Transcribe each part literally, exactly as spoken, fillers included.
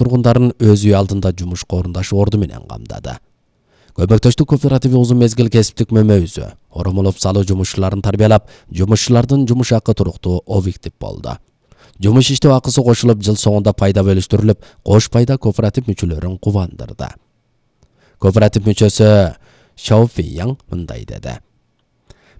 тургундарын өз үй алдында жумушка орундашы орду менен камдады. Көмөктөштүк кооперативи узун мезгил кесиптик мөмөйүзү, оромолоп салуу жумушчуларын тарбиялап, жумушчулардын жумуш акы туруктуу объектив болду. Жумуш иштөө акысы кошулуп, жыл соңунда пайда бөлүштүрүлүп, кош пайда кооператив мүчөлөрүн кубандырды. Кооператив мүчөсү Шао Фейяң мындай деди: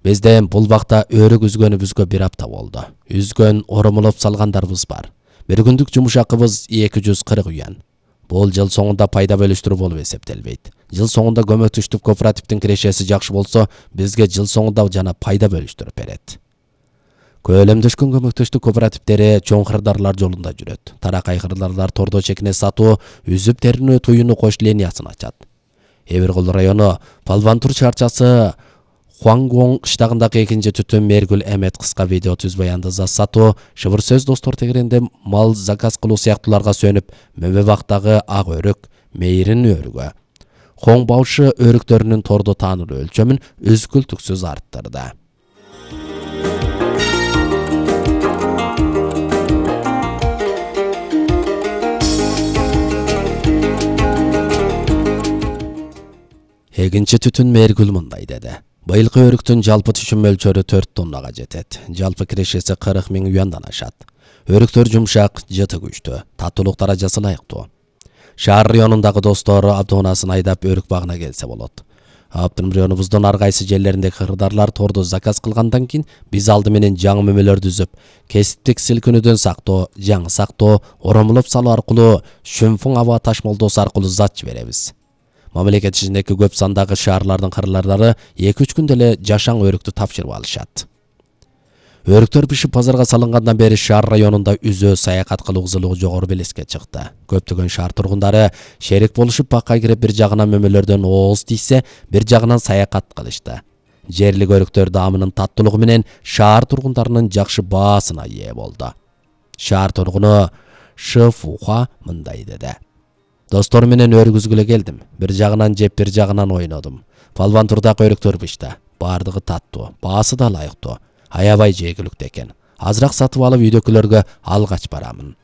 Бизден бул бакта өрүк үзгөнүбүзгө бир апта болду. Үзгөн, оромолоп салгандарыбыз бар. Bir күндүк жумуш акыбыз эки жүз кырк юан. Бул жыл соңунда пайда бөлүштүрүү болуп эсептелбейт. Жыл соңунда көмөктөштүк кооперативдин кирешеси жакшы болсо, бизге жыл соңунда жана пайда бөлүштүрүп берет. Көлөмдөшкөн көмөктөштүк кооперативдери чоң кырдаарлар жолунда жүрөт. Таракай кырдаарлар тордо чекине сатуу, үзүп теринөө туюну кош линиясын ачат. Эбиркул району Палвантур чарчасы Хуангуң кыштагындагы экинчи түтүн Мергүл Эмет кыска видео түз баянды зат сатуу, шыбыр сөз достор тегеренде мал заказ кылуу сыяктууларга сөнүп, мөмө бактагы ак өрүк, мейрин өрүгө, Хоң баушы өрүктөрүнүн тордо таанылуу өлчөмүн үзгүлтүксүз арттырды. Экинчи түтүн Мергүл мындай деди: Быйылкы өрүктүн жалпы түшүм мөлчөрү төрт тоннага жетет. Жалпы кирешеси кырк миң юандан ашат. Өрүктөр жумшак, жыты күчтүү, татуулук даражасы ылайыктуу. Шаар районундагы достор автоунаасын айдап өрүк багына келсе болот. Аптым районубуздун ар кайсы жерлеринде кырдаарлар тордо заказ кылгандан кийин биз алды менен жаңы мөмөлөрдү үзүп, кесиптик силкинүүдөн сактоо, жаңы сактоо, оромолоп салуу аркылуу шүмфуң аба ташмолдоосу аркылуу зат жиберебиз. Мамлекет ичиндеги көп сандагы шаарлардын кырлардары эки үч күндө эле жашаң өрүктү тапшырып алышат. Өрүктөр бишип базарга салынгандан бери шаар районунда үзөө саякат кылуу кызылыгы жогору белеске чыкты. Көптөгөн шаар тургундары шерик болушуп бакка кирип бир жагынан мөмөлөрдөн ооз тийсе, бир жагынан саякат кылышты. Жерлик өрүктөр даамынын таттуулугу менен шаар тургундарынын жакшы баасына ээ болду. Шаар тургуну Шы Фуха мындай деди: Достор менен өрүк үзгүлө келдим. Бир жагынан жеп, бир жагынан ойнодум. Палвантурдагы өрүктөр бишта. Бардыгы таттуу, баасы да ылайыктуу. Аябай жегиликтүү экен. Азыраак сатып алып үйдөгүлөргө алгач барамын.